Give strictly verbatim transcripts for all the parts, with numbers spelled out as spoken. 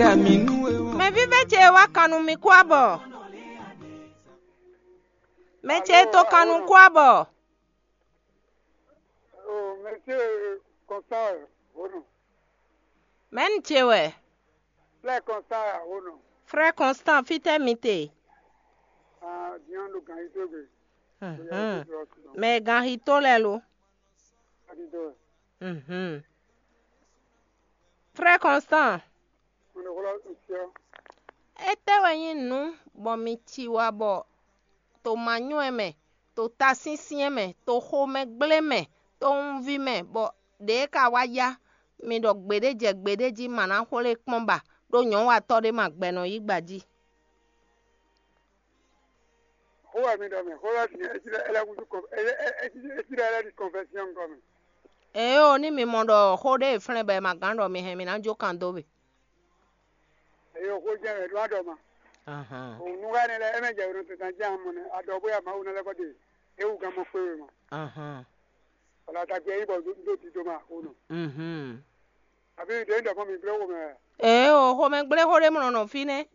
Mɛ vívɛ́ ce e wá kan nú mi kú abɔ. Mɛ ce e to kan nú kú abɔ. Oh, monsieur Constant, oh non. Mɛ̌ un ce wɛ? Frère Constant, oh non. Frère Constant, fítɛ́ mi te? Ah, bien, le grand, il se veut. Mhm. Mɛ e gan xi tó lɛ́ɛ lo? Adi do. Mhm. Frère Constant, on le relance ici. Étɛ́ wɛ nyí nǔ bɔ mi ci wá bɔ to manyɔ́ ɛ mɛ, to tasyɛ́nsyɛ́n mɛ, to xomɛgblé mɛ, to wunví mɛ, bɔ ɖě ka wá yá mi ɖɔ gbeɖé jɛ gbeɖé jí ma ná xwlé kpɔ́n ba, ɖó nyɔ̌watɔ́ ɖé ma gbɛ nɔ yí gba jí? Xó wɛ mi ɖɔ mɛ, xó wɛ mi ɖɔ, é cí ɖɔ é lɛ́ húzú kɔn-, é, é, é cí, é cí ɖɔ é lɛ́ ɖi kɔnfɛsyɔn gɔ́ mɛ. Ée o, ní mi mɔ ɖɔ xó ɖé e flɛ́n bɔ è ma gán ɖɔ mi hɛn mi ná jó kan dó we. Eye o xó jɛ wɛ ɖó aɖɔ ma. Ahan. O nu wɛ ne lɛ, é mɛ jɛ wɛ nɔ tɛtɛ jɛ amɔ nɛ, aɖɔ bóyá Mawu nɔ lɛ kɔ de, é wú gán mɔ kpé we ma. Ahan. Wala ta gbɛ yi bɔ do, do ti do ma o nɔ. Mhm. Abi ɖe ɖɔ mɔ mi gblé wo mɛ. Ee o, xomɛgblé xó ɖé mɔ nɔ fínɛ́.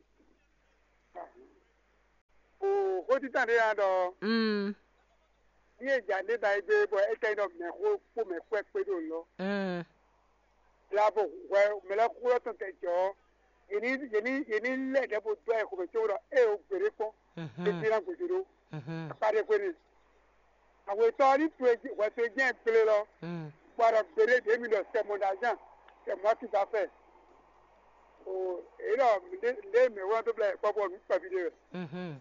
O xó títàn ɖé ya ɖɔ. Mm. Ní e jà ɖé ba yi gbé bɔ é tɛ ɖɔ mɛ xó kpó mɛ kpɛ́ kpé ɖo lɔ. Mm. Labo hwɛ mɛ lɛ xó lɔ tɔn tɛ jɔ. Yě ní, yě ní, yě ní lɛ ɖɛ bo dɔ ɛ xomɛ tso ɖɔ é o gběɖé kpɔn. Mhm. É dín ná gbèsè ɖó. Mhm. Akpa ɖé xwé n'i. Awetɔ ní to e jí, hwɛ to e jẹ́ gblé lɔ. Mm. Bɔ a ɖɔ gbeɖé ɖě mi ɖɔ c'est mon argent, c'est moi qui va faire. O, èyí ɖɔ ɖé, ɖé mɛ wlán tó blɛ kpɔ́ bɔ nǔ kpɛví ɖé wɛ. Mhm.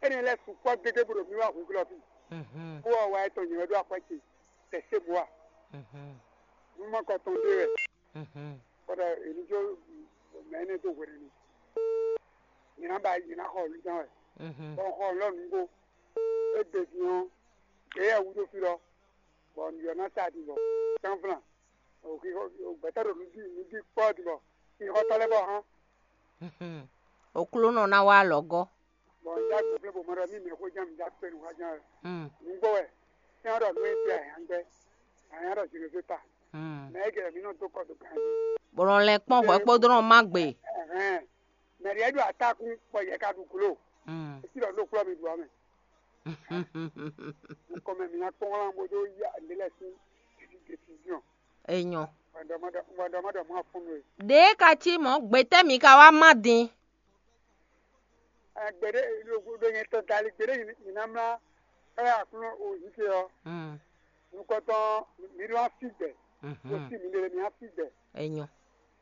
Énɛ́ lɛ́ɛ sukpɔ́ gégé bó ɖo mì wá hwǐglɔ́ fí. Mhm. Bó wá wá etɔn nyɛ wɛ ɖó akwɛ́ ce, c'est chez moi. Mhm. Nú ma kɔ tɔn ɖé wɛ. Mhm. Kɔɖɔ èmi jó mɛ énɛ́ dó hwenu. Nyɛ ná ba nyɛ ná xɔ lúzán wɛ. Mhm. Bɔ xɔ lɔ nǔgbó. Égbe din ɔ́, ɖě yɛ wú ɖó fí lɔ, bɔ nǔ ɔ́ ná sa ɖi bɔ sánflan. Gbɛtɔ́ ɖo nǔ ɖi nǔ ɖi kpɔ́ ɖi bɔ xixɔtɔ́ lɛ́ɛ bɔ hán. Mhm. Oklúnɔ ná wá alɔgɔ́. Bɔ un dó agbo flɛ́ bɔ mɔ ɖɔ mí mɛ xó ján mi dó akpé nǔ xá ján wɛ. Mm. Nǔgbó wɛ, sɛ́n ɔ́ ɖɔ nú é tɛ ayǎngbɛ́, ayǎ ɖɔ Zinozéta. Mm. Mɛ é gɛlɛ mǐ nɔ dó kɔ dó ganjí. Bɔ nɔ lɛn kpɔ́n hwɛ kpódó nɔ má gbe. Ɛhɛn. Mɛ ɖě ɖo atákún bɔ yɛ ka ɖu glo. Mm. É sí ɖɔ nú kplɔ́ mi ɖu ɔ́ mɛ. Nukɔn mɛ mǐ ná kpɔ́n wlán bó dó yá nǔɖé lɛ́ɛ sín décision. Enyɔ. Wɛndɔmɔdɔ wɛndɔmɔdɔ mɔ fún mi. Ɖě ka cí mɔ̌ gbětɛ́ mi ka wá má din? Gbeɖé ɖo nyɛ tɔn dali gbeɖé nyina mlá káyà kún o yíké ɔ́. Mm. Nukɔntɔn mi ɖó asi gbɛ. Mhm. O sí mi ɖe mi asi gbɛ. Enyɔ.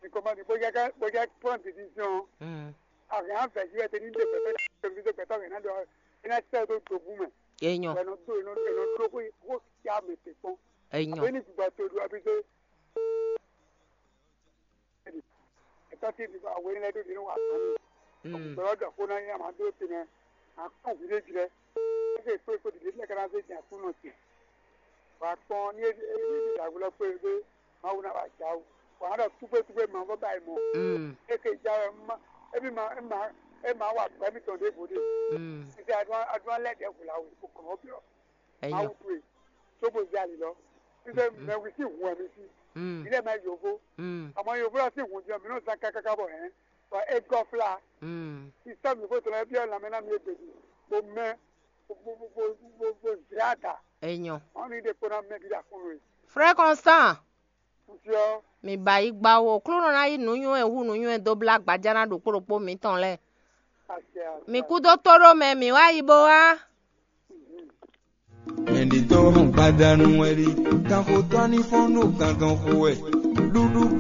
Mi kɔmɔ ni bó jẹ́ bó jẹ́ prendre décision. Mm. Àwọn afẹ́ yí ẹ tẹ ní ndé pẹpẹ tẹlifíṣẹ pẹtọ rẹ náà dọ ẹ náà sẹ tó tó bú mẹ. Enyɔ. Ẹ nọ tó ẹ nọ ẹ nọ tó kó kó kí a mẹ tẹ kpɔn. Enyɔ. Àbẹ ní gbígbà tó do àbí tó. Ẹtọ́ tí ìdìbò àwọn ilẹ̀ tó dínú wà tán ní. Mm. Ọ̀gbọ̀n ọ̀dọ̀ kó náà yín àmà dúró tì mẹ́. Àkọ́ òbí lè jìrẹ́. Ó sì pé kó dìde lẹ́kẹ́ náà ṣe jẹ́ àkúnná tì. Wà á kpɔn ní ebi ìdàgbò lọ pé pé Mawu náà wà já o. Wà á dọ̀ túgbé túgbé màá bọ́ báyìí mọ́. Mm. É ké já wɛ má é bí má é má é má wà gbɛmí tɔn ɖěvo ɖe. Mm. Títí adúlá adúlá lẹ́dẹ̀ẹ́ wò la wò kò kàn ọ́ bí ọ́. Enyɔ. Mawu towe, tso bo zɛ ali lɔ. Fífɛ mɛ wi sí hun wɛ mi sí. Mm. Mi lɛ mɛ yovo. Mm. Àmọ́ yovo lɔ sí hun jẹ mi nɔ zan kákáká bɔ hɛn. Bɔ é gɔ fla. Mm. Sísá mi fó tɔlɔ biɔ lamɛ ná mi egbe di. Bo mɛ bo bo bo bo bo zɛ ada. Enyɔ. Ɔn mi de kpona mɛ bi da kunu yi. Frère Constant. Nfiɔ. Mi ba yi gba wo. Klúnɔ ná yí nǔnywɛ́ hu nǔnywɛ́ dó blá gbajá ná ɖokpó ɖokpó mǐtɔn lɛ́ɛ. Àṣẹ àṣẹ. Mi kú dó tó ɖó mɛ, mǐ wá yi bó wá. Mɛɖitɔ́ hɔn gbadanu wɛ ɖi, kanxotɔ́ ní fɔ́n ɖo gangan xo wɛ. Ɖuɖu